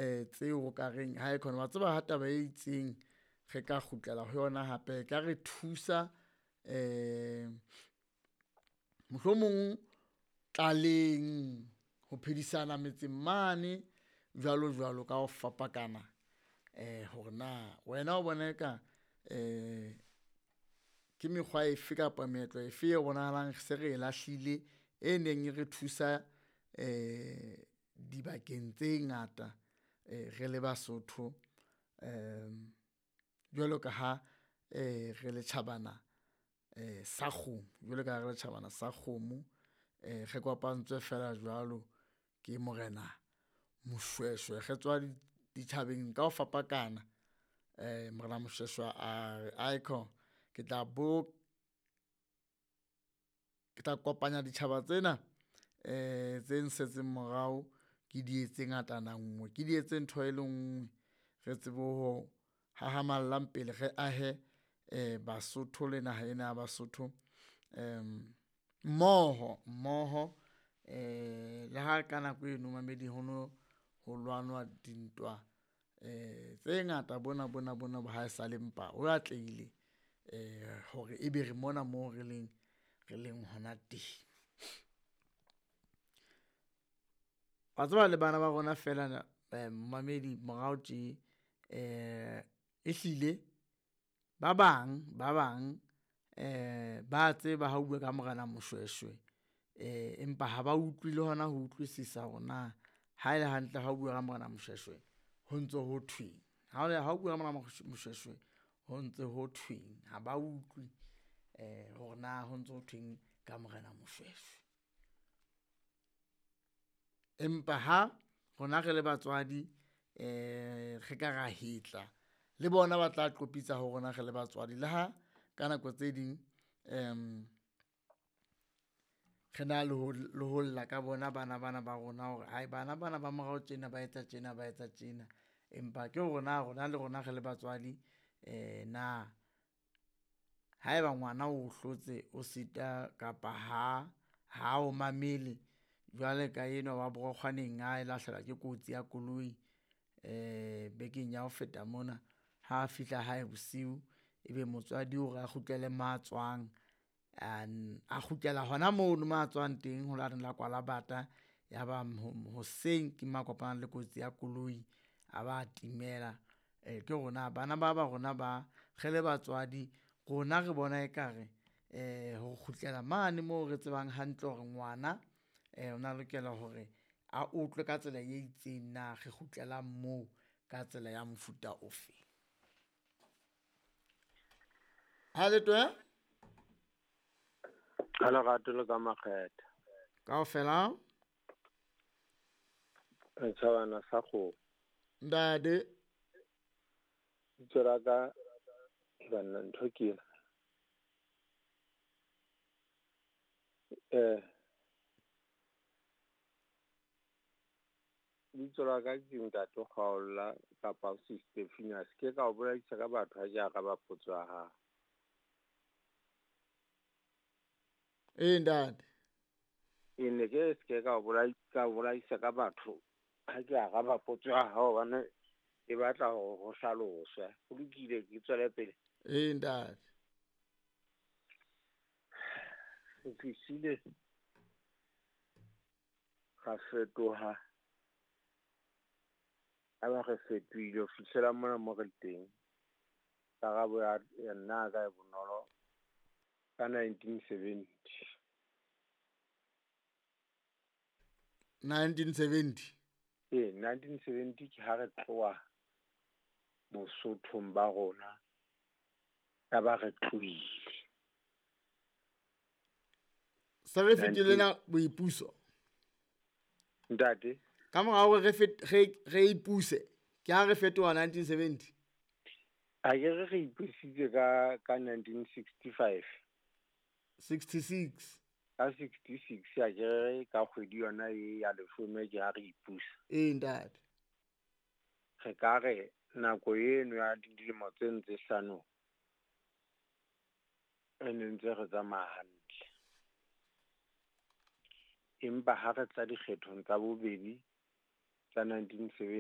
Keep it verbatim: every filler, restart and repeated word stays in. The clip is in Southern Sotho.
um tseo o ka reng ha e khona wa tseba ha taba e itseng re ka kgutlela ho yona hape e ka re thusa um mohlomong tlaleng ho phedisana metseng mane jwalo jwalo ka ho fapakana um hore na wena o bona eka um ke mekgwa efe kapa meetlo efe e bonahalang se re e lahlile e neng e re thusa um dibakeng tse ngata um re le Basotho um jwalo ka ha um re le tjhabana um sa kgomo, jwalo ka ha re le tjhabana sa kgomo um re kopantswe feela jwalo ke morena Moshweshwe. Re tswa ditjhabeng ka ho fapakana um morena Moshweshwe a re aikhona ke tla bo, ke tla kopanya ditjhaba tsena um tse nsetseng morao ke di etse ngatana nngwe, ke di etse ntho e le nngwe. Re tsebe ho hahamallang pele re ahe um Basotho le naha ena ya Basotho um mmoho mmoho um le ha ka nako eno momamedi ho no ho lwanwa dintwa um tse ngata bona bona bona bo haesale, empa ho atlehile um hore ebe re mona moo re leng re leng hona teng. Wa tseba le bana ba rona feela momamedi morao tje um ehlile ba bang ba bang um ba tseba ha o bua ka morena Moshweshwe um empa ha ba utlwi le hona ho utlwisisa hore na ha ele hantle ha o bua ka morena Moshweshwe ho ntso ho thweng. Ha o bua ka morena Moshweshwe ho ntse ho thweng, ha ba utlwi um hore na ho ntso ho thweng ka morena Moshweshwe. Empa ha rona re le batswadi um re ka ra hetla le bona ba tla qopitsa ho rona re le batswadi, le ha ka nako tse ding um re na le ho le ho lla ka bona bana bana ba rona hore hai bana bana ba morao tjena ba etsa tjena ba etsa tjena. Empa ke hore na rona le rona re le batswadi um na haeba ngwana o hlotse o sita kapa ha ha o mamele jwale ka enwa wa Borokgwaneng a lahlehelwa ke kotsi ya koloi um bekeng ya ho feta mona. Ha fihla hae bosiu, ebe motswadi o re a kgutlele mo a tswang, a kgutlela hona mono mo a tswang teng ho lane la Kwalabata. Ya ba hoseng ke mo a kopanang le kotsi ya koloi, a ba timela. Ke hore na bana ba ba rona ba re le batswadi rona re bona ekare um ho kgutlela mane moo re tsebang hantle hore ngwana um o na lokela hore a utlwe ka tsela e itseng na re kgutlelang moo ka tsela ya mofuta ofe? Ha le twe Ka lerato le ka makgethe. Kaofela Re tjhabana sa kgomo. Ntate Bitso la ka banna ntho ke ena. Eh Bitso la ka ke Ntate Kgaola kapa Sister Phineas. Ke ka o bolaisa ka batho ha ke araba potso ya hao. Ee ntate. E ne ke se ka o bolai ka o bolaisa ka batho ha ke araba potso ya hao hobane e batla hore ho hlaloswe. Ho lokile ke tswele pele. Ee ntate. Re tlisile ra fetoha, ya ba re fetohile ho fihlela mona mo re teng. Karabo ya ya nna ya ka e bonolo ka nineteen seventy. nineteen seventy. Ee, nineteen seventy ke ha re tloha Bosothong ba rona, ya ba re tlohile. Se re fetile na boipuso? Ntate? Ka mora hore re fet re re ipuse, ke ha re fetoha nineteen seventy. Ha ke re re ipusitse ka ka nineteen sixty five. sixty six. Ka sixty six ha ke re ka kgwedi yona e ya leshome ke ha re ipusa. Ee ntate. Re ka re nako eno ya dilemo tse ntse hlano re ne ntse re tsamaya hantle. Empa ha re tla dikgethong tsa bobedi tsa nineteen seventy